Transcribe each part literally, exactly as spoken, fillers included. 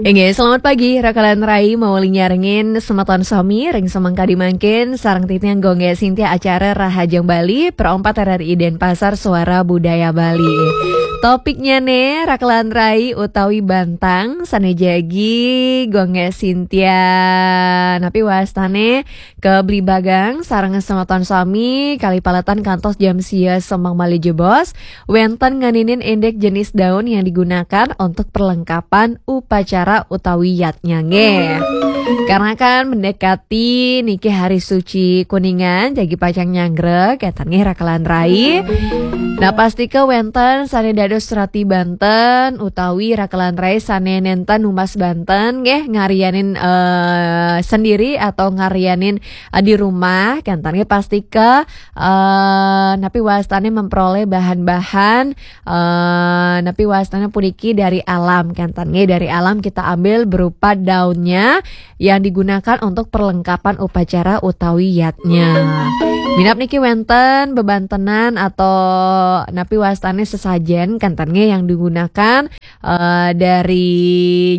Inggih, selamat pagi, rakalan rai, mawali nyarengin semeton sami ring semeng kadi mangkin, sareng titiang Gung Gé Sintia acara Rahajeng Bali, Pro empat R R I Denpasar, Suara Budaya Bali. Topiknyané, rakalan rai utawi bantang, sané jagi Gung Gé Sintia. Napi wastané, kablibagang sareng semeton sami, kalih paletan kantos jam sia semeng malih jebos, wénten ngeninin indik jenis daun yang digunakan untuk perlengkapan upacara utawi yadnya nggih. Karena kan mendekati niki hari suci Kuningan, jagi pacang nyanggra, kénten nggih rakalan rai. Nah, pastika wénten sané dados rati banten utawi rakalan rai sané nénten numbas banten nggih, ngarianin, eh, sendiri atau ngarianin, eh, di rumah, kénten nggih pastika, eh, napi wastané memperoleh bahan-bahan, eh, napi wastané puniki dari alam, kénten nggih, dari alam kita ambil berupa daunnya yang digunakan untuk perlengkapan upacara utawi yadnya. Minab niki wénten bebantenan atau napi wastané sesajen, kénten nggih, yang digunakan, eh, dari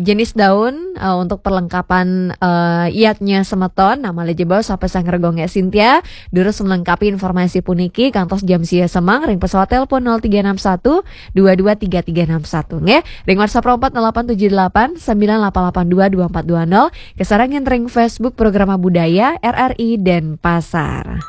jenis daun, eh, untuk perlengkapan, eh, yadnya semeton. Nah, malih jebos sapasang Gung Gé Sintia durus melengkapi informasi puniki kantos jam sia semeng ring pesawat telepon nol tiga enam satu dua dua tiga tiga enam satu nggih. Ring WhatsApp empat delapan tujuh delapan sembilan delapan delapan dua dua empat dua nol. Kasarengin ring Facebook Programa Budaya R R I Denpasar.